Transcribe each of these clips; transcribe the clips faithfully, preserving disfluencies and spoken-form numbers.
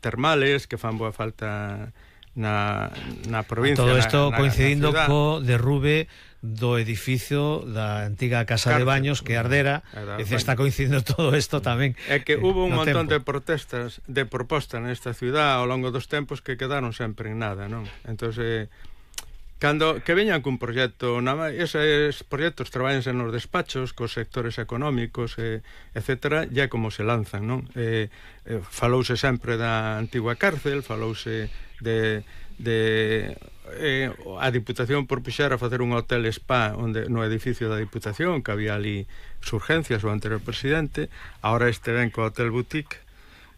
termales que fan boa falta na, na provincia. Todo isto na, na, coincidindo na co derrube do edificio da antiga Casa Cárcel, de Baños que ardera, e se está coincidindo todo isto tamén. É que eh, hubo un no montón tempo. de protestas, de propostas nesta ciudad ao longo dos tempos que quedaron sempre en nada, non? Entón, eh, cando que veñan cun proxecto, nada, eses proxectos traballanse nos despachos cos sectores económicos, eh, etcétera, ya como se lanzan, non? Eh, eh, falouse sempre da antigua cárcel, falouse de, de eh, a Diputación propuxera facer un hotel spa onde, no edificio da Diputación, que había ali surgencias o anterior presidente. Ahora este ven co hotel boutique.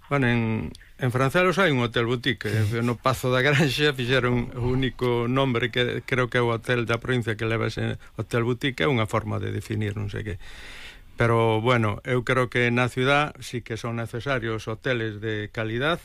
Bueno, en, en Francelos hai un hotel boutique, no Pazo da Granxa fixeron o único nombre que creo que é o hotel da provincia que leva ese hotel boutique, é unha forma de definir, non sei que. Pero, bueno, eu creo que na ciudad sí que son necesarios hoteles de calidad,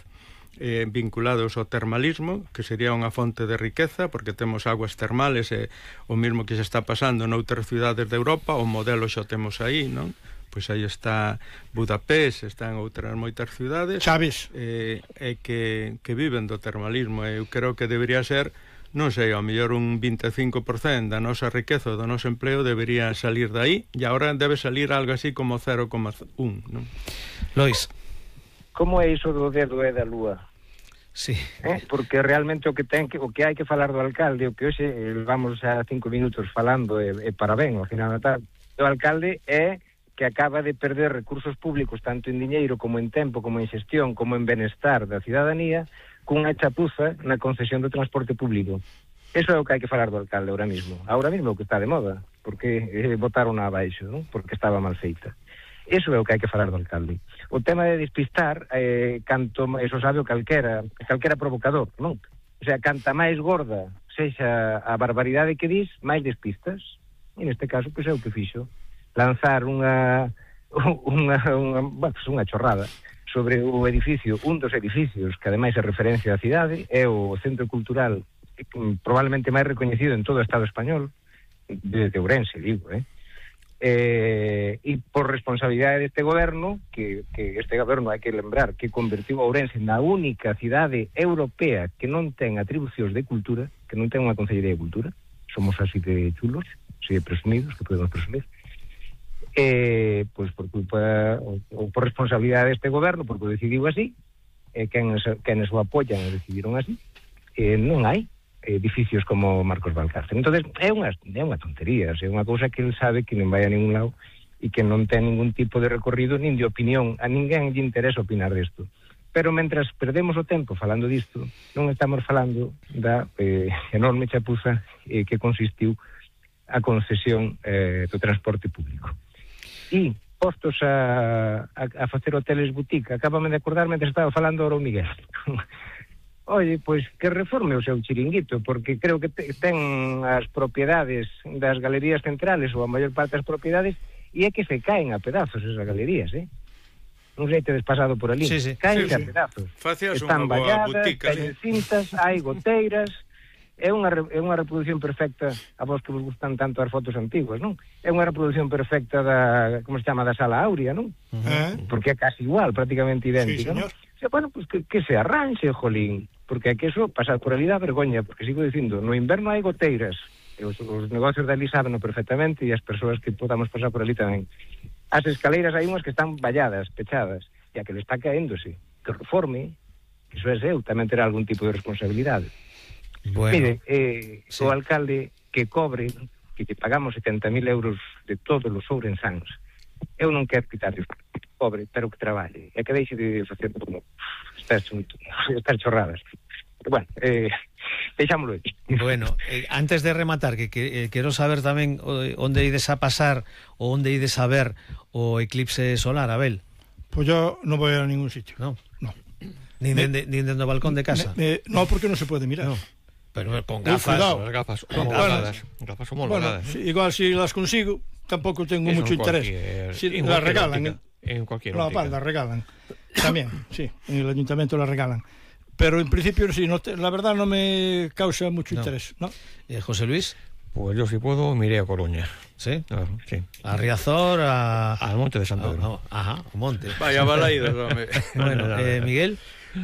eh, vinculados ao termalismo, que sería unha fonte de riqueza, porque temos aguas termales, e o mesmo que se está pasando noutras ciudades de Europa, o modelo xa temos aí, non? Pois aí está Budapest, están outras moitas ciudades Chaves eh, eh, que, que viven do termalismo. Eu creo que debería ser, non sei, ao mellor un veinticinco por ciento da nosa riqueza, do noso empleo debería salir de aí, e agora debe salir algo así como cero coma uno, non? Lois. Como é iso do dedo e da lúa? Sí. Eh? Porque realmente o que ten que o que hai que falar do alcalde, o que hoxe vamos a cinco minutos falando e, e parabén, ao final da tarde, o alcalde é que acaba de perder recursos públicos tanto en diñeiro como en tempo, como en xestión, como en benestar da cidadanía, cunha chapuza na concesión do transporte público. Eso é o que hai que falar do alcalde ahora mismo. Ahora mismo o que está de moda, porque eh, botaron abaixo, non? Porque estaba mal feita. Eso é o que hai que falar do alcalde. O tema de despistar, eh, canto, eso sabe o calquera, calquera provocador, non? O sea, canta máis gorda sexa a barbaridade que dis, máis despistas. E neste caso, pois é o que fixo. Lanzar unha, unha, unha, bueno, unha chorrada sobre o edificio, un dos edificios que ademais é referencia da cidade, é o Centro Cultural probablemente máis recoñecido en todo o Estado español, de Ourense, digo, eh? Eh, e por responsabilidade deste goberno, que, que este goberno hai que lembrar que convertiu Ourense na única cidade europea que non ten atribucións de cultura, que non ten unha consellería de cultura, somos así de chulos, así de presumidos, que podemos presumir, eh, pois por culpa ou, ou por responsabilidade deste goberno, porque o decidiu así, eh, quenes, quenes o apoian e decidiron así, eh, non hai edificios como Marcos Valcárcel. Entonces é unha, é unha tontería, é unha cousa que ele sabe que non vai a ningún lado e que non ten ningún tipo de recorrido nin de opinión, a ninguén lle interesa opinar desto. Pero mentras perdemos o tempo falando disto, non estamos falando da eh, enorme chapuza eh, que consistiu a concesión eh, do transporte público. E postos a, a, a facer hoteles boutique, acabame de acordar mentre estaba falando ahora o Miguel. Oye, pois que reforme o seu chiringuito, porque creo que te, ten as propiedades das galerías centrales, ou a maior parte das propiedades, e é que se caen a pedazos esas galerías, eh? Non sei, tedes pasado por ali. Sí, sí. Caen sí, a sí. pedazos. Facías Están unha boa valladas, botica, caen sí. cintas, hai goteiras. É unha, é unha reproducción perfecta, a vos que vos gustan tanto as fotos antiguas, non? É unha reproducción perfecta da, como se chama, da Sala Áurea, non? Uh-huh. Porque é casi igual, prácticamente idéntica, Sí, non? señor. O sea, bueno, pues que, que se arranxe, jolín, porque é que eso pasar por ali dá vergoña, porque sigo dicindo, no inverno hai goteiras, e os, os negocios de ali sábeno perfectamente, e as persoas que podamos pasar por ali tamén. As escaleiras hai unhas que están valladas, pechadas, e a que le está caéndose, que reforme, que iso é seu, tamén terá algún tipo de responsabilidade. Bueno, Mire, eh, sí. o alcalde que cobre, que te pagamos setenta mil euros de todos os ourensáns, eu non quero quitarle cobre, pero que traballe, e que deixe de facer como estas, estas chorradas. Bueno, eh, deixámoslo aí. Bueno, eh, antes de rematar, que, que eh, quero saber tamén eh, onde ides a pasar ou onde ides a ver o eclipse solar, Abel. Pues yo no voy a ningún sitio. No. No. Nin Me- dende, nin dende o balcón de casa. Me- me- no, porque no se puede mirar. No. Pero con Uy, gafas. cuidado. As gafas Con homologadas. Gafas Bueno, homologadas. si- igual si las consigo, tampoco tengo Eso mucho en interés. cualquier- Si en las cualquier regalan, óptica. En cualquier no, óptica. vale, las regalan. También, sí, en el ayuntamiento las regalan. Pero en principio sí, no te- la verdad no me causa mucho No. interés, ¿no? Eh, José Luis, Pues yo si puedo me iré a Coruña. ¿sí? Claro, sí. A Riazor, a... Al monte de San Pedro. a- a- Ajá, o monte. Vaya balaídos, home. Bueno, eh, Miguel.